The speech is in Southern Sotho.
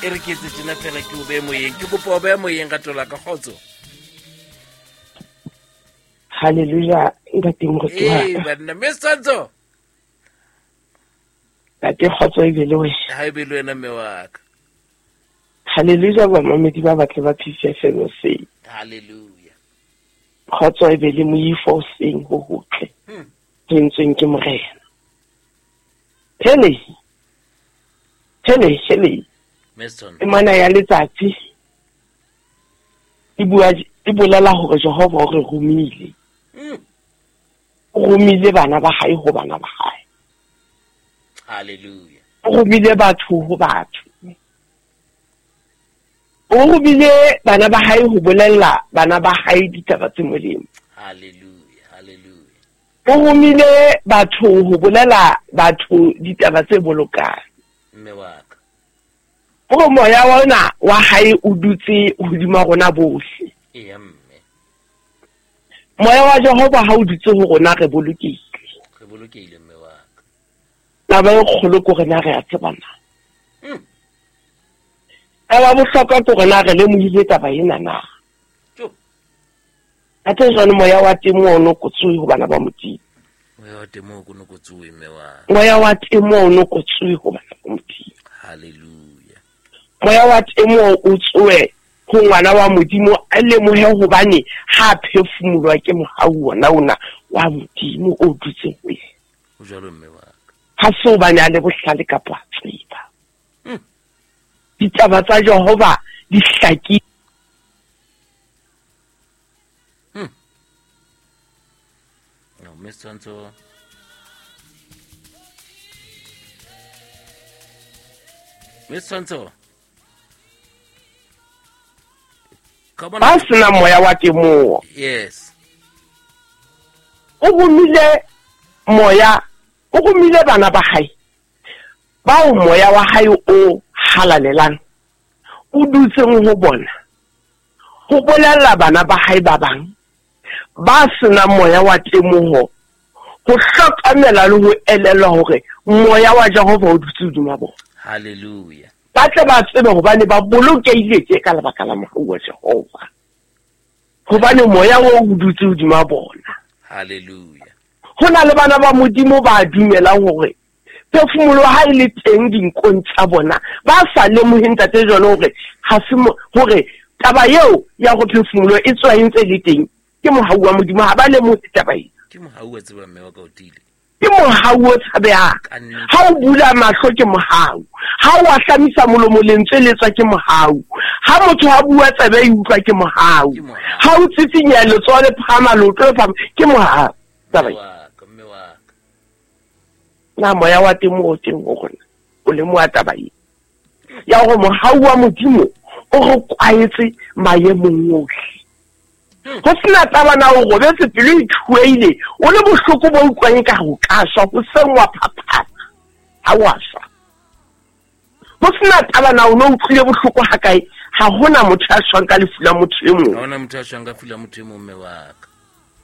E re ke etse tjena fela ke o behe moyeng. Ke kopa o behe moyeng rato la ka kgotso. Hallelujah, ntate moruti wa Ee ka. banna mme Setshwantsho. Ntate kgotso e be le wena. Ha e be le wena mme wa ka. Hallelujah bamamedi ba batle ba Peace FM hoseng. Hallelujah. Kgotso e be le moifo hoseng ho hotle. Ho entsweng ke Morena. Hele. Hele, hele. Mme Setshwantsho. Temana ya letsatsi e bua e bolela hore Jehova o re romile. O romile bana ba hae ho bana ba hae. Hallelujah. O romile batho ho batho. O romile bana ba hae ho bolella bana ba hae ditaba tse molemo. Hallelujah. Hallelujah. O romile batho ho bolela batho ditaba tse bolokang. Mme wa ka. Hore moya wa ona wa hae o dutse hodima rona bohle. Eya mme. Moya wa Jehova ha o dutse ho rona re bolokehile. Re bolokehile mme wa ka. Taba e kgolo ke hore na re a tseba na. Taba bohlokwa ke hore na re lemohile taba ena na. Jo. Athe jwale moya wa temo o no kotsuwe ho bana ba Modimo. Moya wa temo o no kotsuwe mme wa ka. Moya wa temo o no kotsuwe ho bana ba Modimo. Hallelujah. Moya wa temo o tsoe ho ngwana wa Modimo a lemohe hobane ha phefumolwa ke mohau wona ona wa Modimo o dutseng ho yena. Ho jwalo mme wa ka. Ha se hobane a le bohlale kapa a tseba. Ditaba tsa Jehova di hlakile. No, mme Setshwantsho. Mme Setshwantsho. Ka bona- Ba sena moya wa temoho. Yes. O romile moya, o romile bana ba hae. Bao moya wa hae o halalelang o dutseng ho bona. Ho bolella bana ba hae ba bang ba sena moya wa temoho ho hlokomela le ho elellwa hore moya wa Jehova o dutse hodima bona. Hallelujah. Ba tle ba tsebe hobane ba bolokehile tje ka lebaka la mohau wa Jehova. Hobane moya oo o dutse hodima bona. Hallelujah. Ho na le bana ba Modimo ba dumelang hore phefumoloho ha e le teng dinkong tsa bona, ba sa lemohe ntate jwalo hore ha se hore taba eo ya go phefumoloho e tswa e ntse le teng ke mohau wa Modimo, ha ba lemohe taba eo. Ke mohau wa tseba mme wa ka o tiile. Ke mohau o tshabehang. Ka nnete. Ha o bula mahlo ke mohau. Ha o ahlamisa molomo lentswe le tswa ke mohau. Ha motho a bua tsebe e utlwa ke mohau. Ke mohau. Ha o tsitsinya letsoho le phahama, leoto le phahama, ke mohau. Taba Mme e. wa ka, mme wa ka. Na moya wa temo o teng ho rona, o lemoha taba e. Ya hore mohau wa Modimo o re kwaetse maemong ohle. Ho sena taba na o robetse pelo e thueile, o le bohloko bo utlwang ka ho ka shwa, ho seng wa phaphama, ha wa shwa. Ho sena taba na o no utlwile bohloko ha kae, ha hona motho ya shwang ka lefu la motho e mong. Ha hona motho ya shwang ka lefu la motho e mong, mme wa ka.